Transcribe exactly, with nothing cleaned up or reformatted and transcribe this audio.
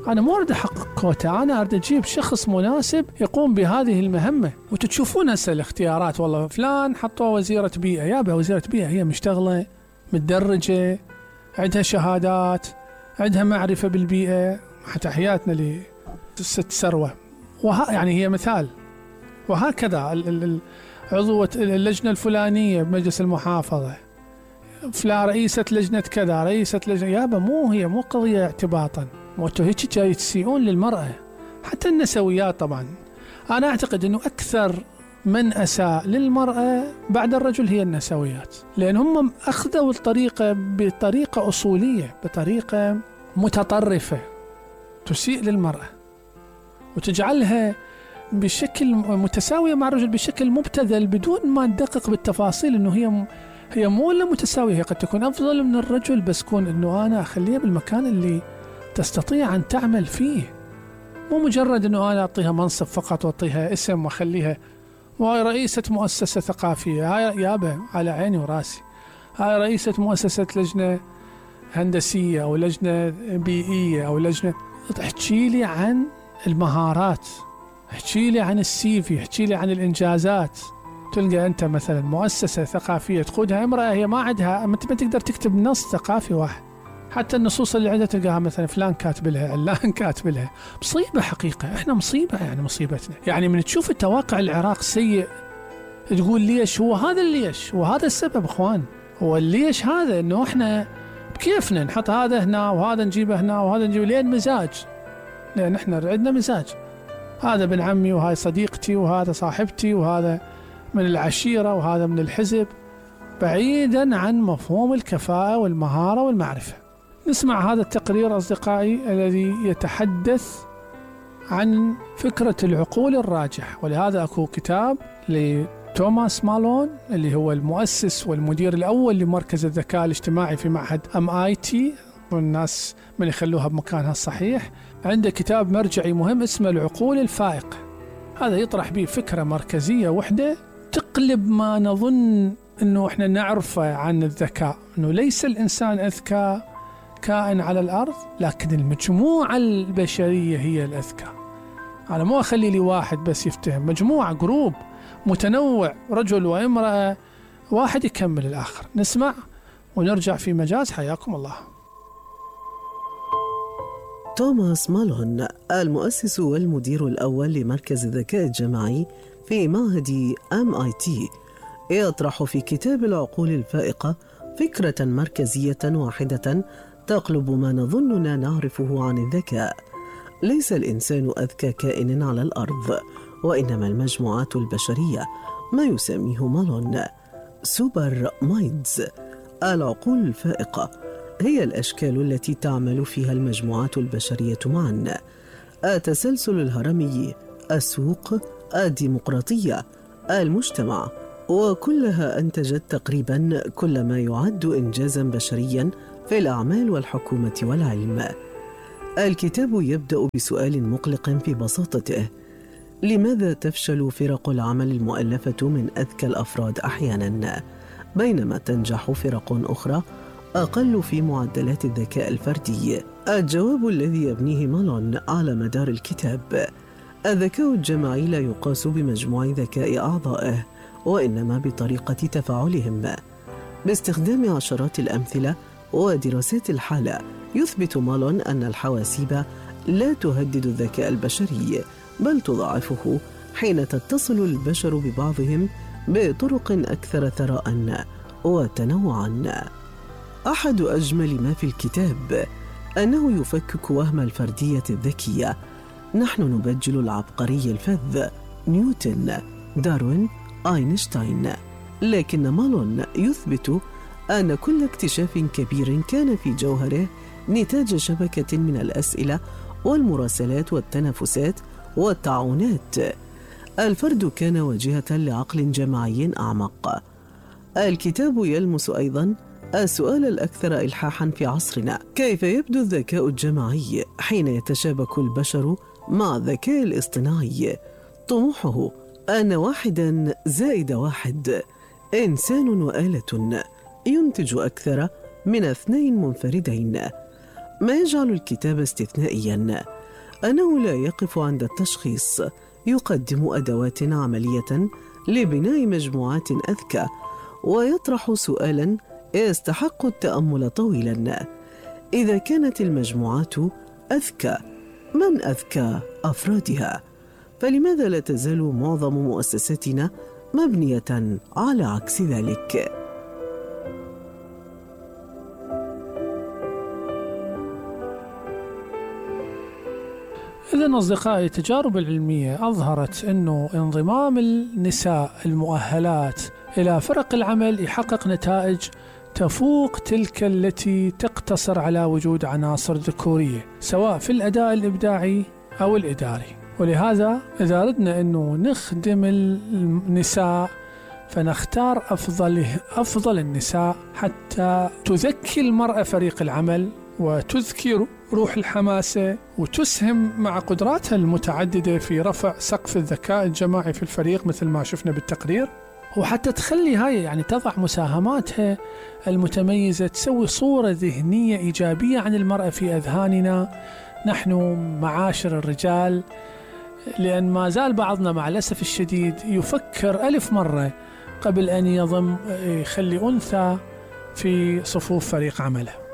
أنا مو أريد أحقق كوتا، أنا أريد أجيب شخص مناسب يقوم بهذه المهمة. وتشوفون هسه الاختيارات، والله فلان حطوه وزيرة بيئة، يابا وزيرة بيئة هي مشتغلة متدرجة، عندها شهادات، عندها معرفة بالبيئة، حتى حياتنا لست سروة، وها يعني هي مثال. وهكذا عضوة اللجنة الفلانية بمجلس المحافظة، فلا رئيسة لجنة كذا، رئيسة لجنة، يابا مو هي مو قضية اعتباطا، مو انتو هيك جاي تسيئون للمرأة. حتى النسويات طبعا، أنا أعتقد أنه أكثر من أساء للمرأة بعد الرجل هي النسويات، لأن هم أخذوا الطريقة بطريقة أصولية، بطريقة متطرفة تسيء للمرأة وتجعلها بشكل متساوية مع الرجل بشكل مبتذل، بدون ما ندقق بالتفاصيل أنه هي هي مو ولا متساوية، هي قد تكون أفضل من الرجل، بس كون أنه أنا أخليها بالمكان اللي تستطيع أن تعمل فيه، مو مجرد أنه أنا أعطيها منصب فقط وأعطيها اسم وأخليها وهاي رئيسة مؤسسة ثقافية، هاي يابا على عيني وراسي، هاي رئيسة مؤسسة لجنة هندسية أو لجنة بيئية أو لجنة. احكي لي عن المهارات، احكي لي عن السيفي، احكي لي عن الإنجازات. تلقى أنت مثلا مؤسسة ثقافية تقودها امرأة، هي ما عندها، ما تقدر تكتب نص ثقافي واحد، حتى النصوص اللي عندها تلقاها مثلا فلان كاتب لها، علان كاتب لها. مصيبة حقيقة، احنا مصيبة يعني مصيبتنا. يعني من تشوف التواقع العراق سيء تقول ليش، هو هذا الليش وهذا السبب اخوان، هو الليش هذا انه احنا بكيفنا نحط هذا هنا وهذا نجيبه هنا وهذا نجيبه، لين مزاج، لان احنا عندنا مزاج، هذا ابن عمي وهاي صديقتي وهذا صاحبتي وهذا من العشيرة وهذا من الحزب، بعيدا عن مفهوم الكفاءة والمهارة والمعرفة. نسمع هذا التقرير أصدقائي الذي يتحدث عن فكرة العقول الراجح، ولهذا أكو كتاب لتوماس مالون اللي هو المؤسس والمدير الأول لمركز الذكاء الاجتماعي في معهد إم آي تي، والناس من يخلوها بمكانها الصحيح. عنده كتاب مرجعي مهم اسمه العقول الفائقة، هذا يطرح به فكرة مركزية وحدة تقلب ما نظن أنه إحنا نعرفه عن الذكاء، أنه ليس الإنسان أذكى كائن على الأرض، لكن المجموعة البشرية هي الأذكى. أنا مو أخلي لي واحد بس يفتهم، مجموعة جروب متنوع، رجل وامرأة، واحد يكمل الآخر. نسمع ونرجع في مجاز. حياكم الله. توماس مالون المؤسس والمدير الأول لمركز الذكاء الجماعي في معهد إم آي تي يطرح في كتاب العقول الفائقة فكرة مركزية واحدة تقلب ما نظننا نعرفه عن الذكاء. ليس الإنسان أذكى كائن على الأرض، وإنما المجموعات البشرية، ما يسميه مالون سوبر مايندز. العقول الفائقة هي الأشكال التي تعمل فيها المجموعات البشرية معا، التسلسل الهرمي، السوق، الديمقراطية، المجتمع، وكلها أنتجت تقريبا كل ما يعد إنجازا بشريا في الأعمال والحكومة والعلم. الكتاب يبدأ بسؤال مقلق في بساطته: لماذا تفشل فرق العمل المؤلفة من أذكى الأفراد أحيانا، بينما تنجح فرق أخرى أقل في معدلات الذكاء الفردي؟ الجواب الذي يبنيه مالون على مدار الكتاب: الذكاء الجماعي لا يقاس بمجموع ذكاء أعضائه، وإنما بطريقة تفاعلهم. باستخدام عشرات الأمثلة ودراسات الحالة، يثبت مالون أن الحواسيب لا تهدد الذكاء البشري، بل تضاعفه حين تتصل البشر ببعضهم بطرق أكثر ثراء وتنوعا. أحد أجمل ما في الكتاب أنه يفكك وهم الفردية الذكية. نحن نبجل العبقري الفذ نيوتن، داروين، أينشتاين، لكن مالون يثبت أن كل اكتشاف كبير كان في جوهره نتاج شبكة من الأسئلة والمراسلات والتنافسات والتعاونات. الفرد كان واجهة لعقل جماعي أعمق. الكتاب يلمس أيضا السؤال الأكثر إلحاحا في عصرنا: كيف يبدو الذكاء الجماعي حين يتشابك البشر مع الذكاء الاصطناعي؟ طموحه أن واحدا زائد واحد، إنسان وآلة، ينتج أكثر من اثنين منفردين. ما يجعل الكتاب استثنائيا أنه لا يقف عند التشخيص، يقدم أدوات عملية لبناء مجموعات أذكى، ويطرح سؤالا يستحق التأمل طويلا: إذا كانت المجموعات أذكى، من أذكى أفرادها؟ فلماذا لا تزال معظم مؤسساتنا مبنية على عكس ذلك؟ إذن أصدقائي، التجارب العلمية أظهرت أنه انضمام النساء المؤهلات إلى فرق العمل يحقق نتائج تفوق تلك التي تقتصر على وجود عناصر ذكورية، سواء في الأداء الإبداعي أو الإداري. ولهذا إذا أردنا أنه نخدم النساء فنختار أفضل أفضل النساء حتى تذكي المرأة فريق العمل وتذكر روح الحماسة وتسهم مع قدراتها المتعددة في رفع سقف الذكاء الجماعي في الفريق مثل ما شفنا بالتقرير، وحتى تخلي هاي يعني تضع مساهماتها المتميزة، تسوي صورة ذهنية إيجابية عن المرأة في أذهاننا نحن معاشر الرجال، لأن ما زال بعضنا مع الأسف الشديد يفكر ألف مرة قبل أن يضم يخلي أنثى في صفوف فريق عمله.